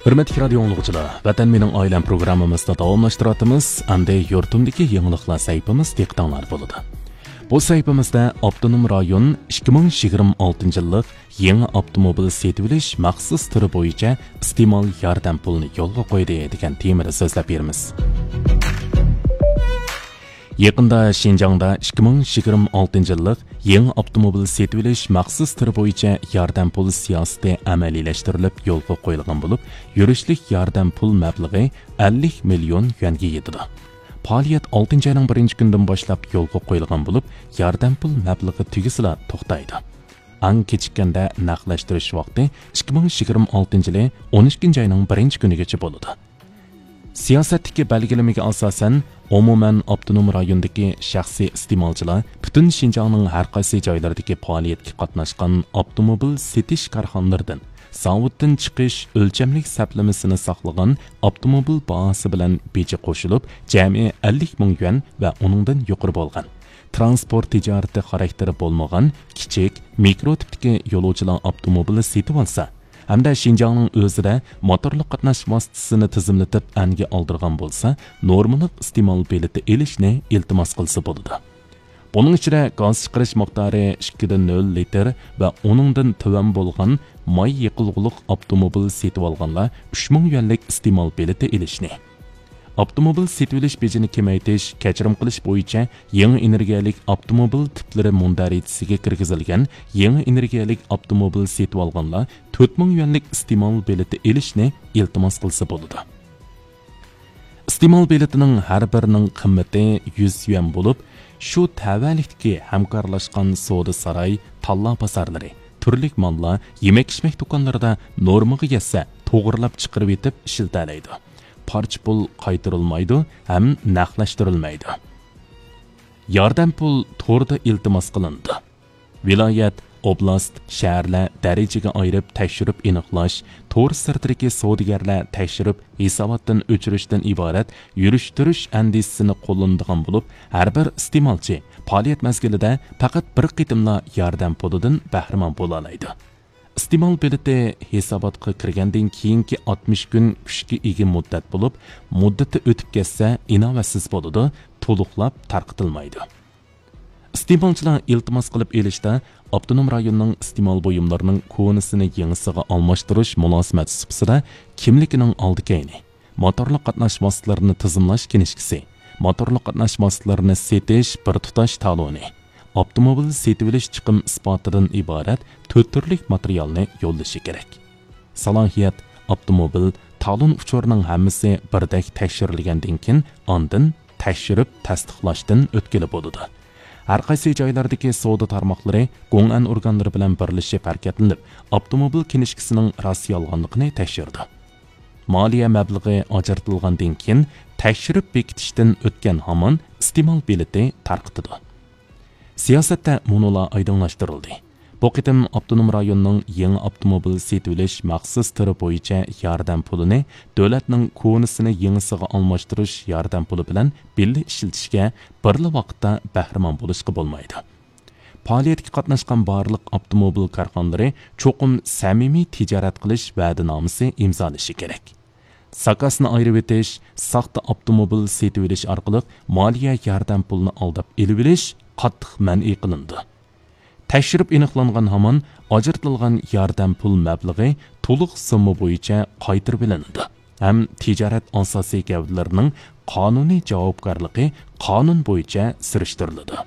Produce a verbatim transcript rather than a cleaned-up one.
ھۆرمەتلىك رادىيو ئاڭلىغۇچىلار، ۋەتەن مېنىڭ ئائىلەم پروگراممىمىزنى داۋاملاشتۇرۇۋاتىمىز. ئەمدى يۇرتۇمدىكى يېڭىلىقلار سەھىپىمىز دىققىتىڭلاردا بولىدۇ. بۇ سەھىپىمىزدە ئاپتونوم رايون ئىككى مىڭ يىگىرمە ئالتىنچى يىللىق يېڭى ئاپتوموبىل سېتىۋېلىش مەخسۇس تۈرى بويىچە ئىستېمال ياردەم پۇلىنى يولغا قويدى دېگەن تېمىدا سۆزلەپ بېرىمىز. يېقىندا شىنجاڭدا ئىككى مىڭ يىگىرمە ئالتىنچى يىللىق يېڭى ئاپتوموبىل سېتىۋېلىش مەخسۇس تۈرى بويىچە ياردەم پۇل سىياسىتى ئەمەلىيلەشتۈرۈلۈپ يولغا قويۇلغان بولۇپ، يۈرۈشلۈك ياردەم پۇل مەبلىغى ئەللىك مىليون يۈەنگە يېتىدۇ. پائالىيەت ئالتىنچى ئاينىڭ بىرىنچى كۈنىدىن باشلاپ يولغا قويۇلغان بولۇپ، ياردەم پۇل مەبلىغى تۈگىسىلا توختايدۇ. ئەڭ كېچىككەندە نەقلەشتۈرۈش ۋاقتى ئىككى مىڭ يىگىرمە ئالتىنچى يىلى ئون ئىككىنچى ئاينىڭ بىرىنچى كۈنىگىچە بولىدۇ. سىياسەتتىكى بەلگىلىمىگە ئاساسەن، ئومۇمەن ئاپتونوم رايوندىكى شەخسىي ئىستېمالچىلار پۈتۈن شىنجاڭنىڭ ھەر قايسى جايلىرىدىكى پائالىيەتكە قاتناشقان ئاپتوموبىل سېتىش كارخانىلىرىدىن زاۋۇتتىن چىقىش ئۆلچەملىك سەپلىمىسىنى ساقلىغان ئاپتوموبىل باھاسى بىلەن بېجى قوشۇلۇپ، جەمئىي ئەللىك مىڭ يۈەن ۋە ئۇنىڭدىن يۇقىرى بولغان، تىرانسپورت تىجارىتى خاراكتېرى بولمىغان كىچىك، مىكرو تىپتىكى يولۇچىلار ئاپتوموبىلى سېتىۋالسا، ھەمدە شىنجاڭنىڭ ئۆزىدە موتورلۇق قاتناش ۋاسىتىسىنى تىزىملىتىپ ئەنگە ئالدۇرغان بولسا، نورمىلىق ئىستېمال بېلىتى ئېلىشنى ئىلتىماس قىلسا بولىدۇ. بۇنىڭ ئىچىدە گاز چىقىرىش مىقدارى ئىككىدىن نۆل لىتىر ۋە ئۇنىڭدىن تۆۋەن بولغان ماي يېقىلغۇلۇق ئاپتوموبىل سېتىۋالغانلار ئۈچ مىڭ يۈەنلىك ئىستېمال بېلىتى ئېلىشنى، ئاپتوموبىل سېتىۋېلىش بېجىنى كېمەيتىش، كەچۈرۈم قىلىش بويىچە يېڭى ئېنېرگىيەلىك ئاپتوموبىل تىپلىرى مۇندەرىجىسىگە كىرگۈزۈلگەن يېڭى ئېنېرگىيەلىك ئاپتوموبىل سېتىۋالغانلار تۆت مىڭ يۈەنلىك ئىستېمال بېلىتى ئېلىشنى ئىلتىماس قىلسا بولىدۇ. ئىستېمال بېلىتىنىڭ ھەر بىرىنىڭ قىممىتى يۈز يۈەن بولۇپ، شۇ تەۋەلىكتىكى ھەمكارلاشقان سودا ساراي، تاللا بازارلىرى، تۈرلۈك ماللار، يېمەك-ئىچمەك دۇكانلىرىدا نورمىغا يەتسە، توغرىلاپ چىقىرىۋېتىپ ئىشلىتەلەيدۇ. پارچە پۇل قايتۇرۇلمايدۇ ھەم نەقلەشتۈرۈلمەيدۇ. ياردەم پۇل توردا ئىلتىماس قىلىنىدۇ. ۋىلايەت، ئوبلاست، شەھەرلەر دەرىجىگە ئايرىپ تەكشۈرۈپ ئېنىقلاش، تور سىرتىدىكى سودىگەرلەر تەكشۈرۈپ ھېساباتتىن ئۆچۈرۈشتىن ئىبارەت يۈرۈشتۈرۈش ئەندىزىسىنى قوللىنىدىغان بولۇپ، ھەر بىر ئىستېمالچى پائالىيەت مەزگىلىدە پەقەت بىر قېتىملا ياردەم پۇلىدىن بەھرىمەن بولالايدۇ. ئىستېمال بېلىتى ھېساباتقا كىرگەندىن كېيىنكى ئاتمىش كۈن كۈچكە ئىگە مۇددەت بولۇپ، مۇددىتى ئۆتۈپ كەتسە ئىناۋەتسىز بولىدۇ، تولۇقلاپ تارقىتىلمايدۇ. ئىستېمالچىلار ئىلتىماس قىلىپ ئېلىشتا ئاپتونوم رايوننىڭ ئىستېمال بۇيۇملىرىنىڭ كونىسىنى يېڭىسىغا ئالماشتۇرۇش مۇلازىمەت سۇپىسىدا كىملىكىنىڭ ئالدى كەينى، موتورلۇق قاتناش ۋاسىتىلىرىنى تىزىملاش كىنىشكىسى، موتورلۇق قاتناش ۋاسىتىلىرىنى سېتىش بىر تۇتاش تالونى، ئاپتوموبىل سېتىۋېلىش چىقىم ئىسپاتىدىن ئىبارەت تۆت تۈرلۈك ماتېرىيالنى يوللىشى كېرەك. سالاھىيەت، ئاپتوموبىل، تالون ئۇچۇرىنىڭ ھەممىسى بىردەك تەكشۈرۈلگەندىن كېيىن، ئاندىن تەكشۈرۈپ تەستىقلاشتىن ئۆتكىلى بولىدۇ. ھەر قايسى جايلاردىكى سودا تارماقلىرى گوڭئەن ئورگانلىرى بىلەن بىرلىشىپ ھەرىكەتلىنىپ، ئاپتوموبىل كىنىشكىسىنىڭ راست يالغانلىقىنى تەكشۈرىدۇ. مالىيە مەبلىغى ئاجرىتىلغاندىن كېيىن، تەكشۈرۈپ بېكىتىشتىن ئۆتكەن ھامان ئىستېمال بېلىتى تارقىتىدۇ. سىياسەتتە مۇنۇلار ئايدىڭلاشتۇرۇلدى. بۇ قېتىم ئاپتونوم رايوننىڭ يېڭى ئاپتوموبىل سېتىۋېلىش مەخسۇس تۈرى بويىچە ياردەم پۇلىنى دۆلەتنىڭ كونىسىنى يېڭىسىغا ئالماشتۇرۇش ياردەم پۇلى بىلەن بىللە ئىشلىتىشكە بىرلا ۋاقىتتا بەھرىمەن بولۇشقا بولمايدۇ. پائالىيەتكە قاتناشقان بارلىق ئاپتوموبىل كارخانىلىرى چوقۇم سەمىمىي تىجارەت قىلىش ۋەدىنامىسى ئىمزالىشى كېرەك. زاكازنى ئايرىۋېتىش، ساختا ئاپتوموبىل سېتىۋېلىش ئارقىلىق مالىيە ياردەم پۇلىنى ئالداپ ئېلىۋېلىش قاتتىق مەنئى قىلىنىدۇ. تەكشۈرۈپ ئېنىقلانغان ھامان ئاجرىتىلغان ياردەم پۇل مەبلىغى تولۇق سومما بويىچە قايتۇرۇۋېلىنىدۇ ھەم تىجارەت ئاساسىي گەۋدىلىرىنىڭ قانۇنىي جاۋابكارلىقى قانۇن بويىچە سۈرۈشتۈرۈلىدۇ.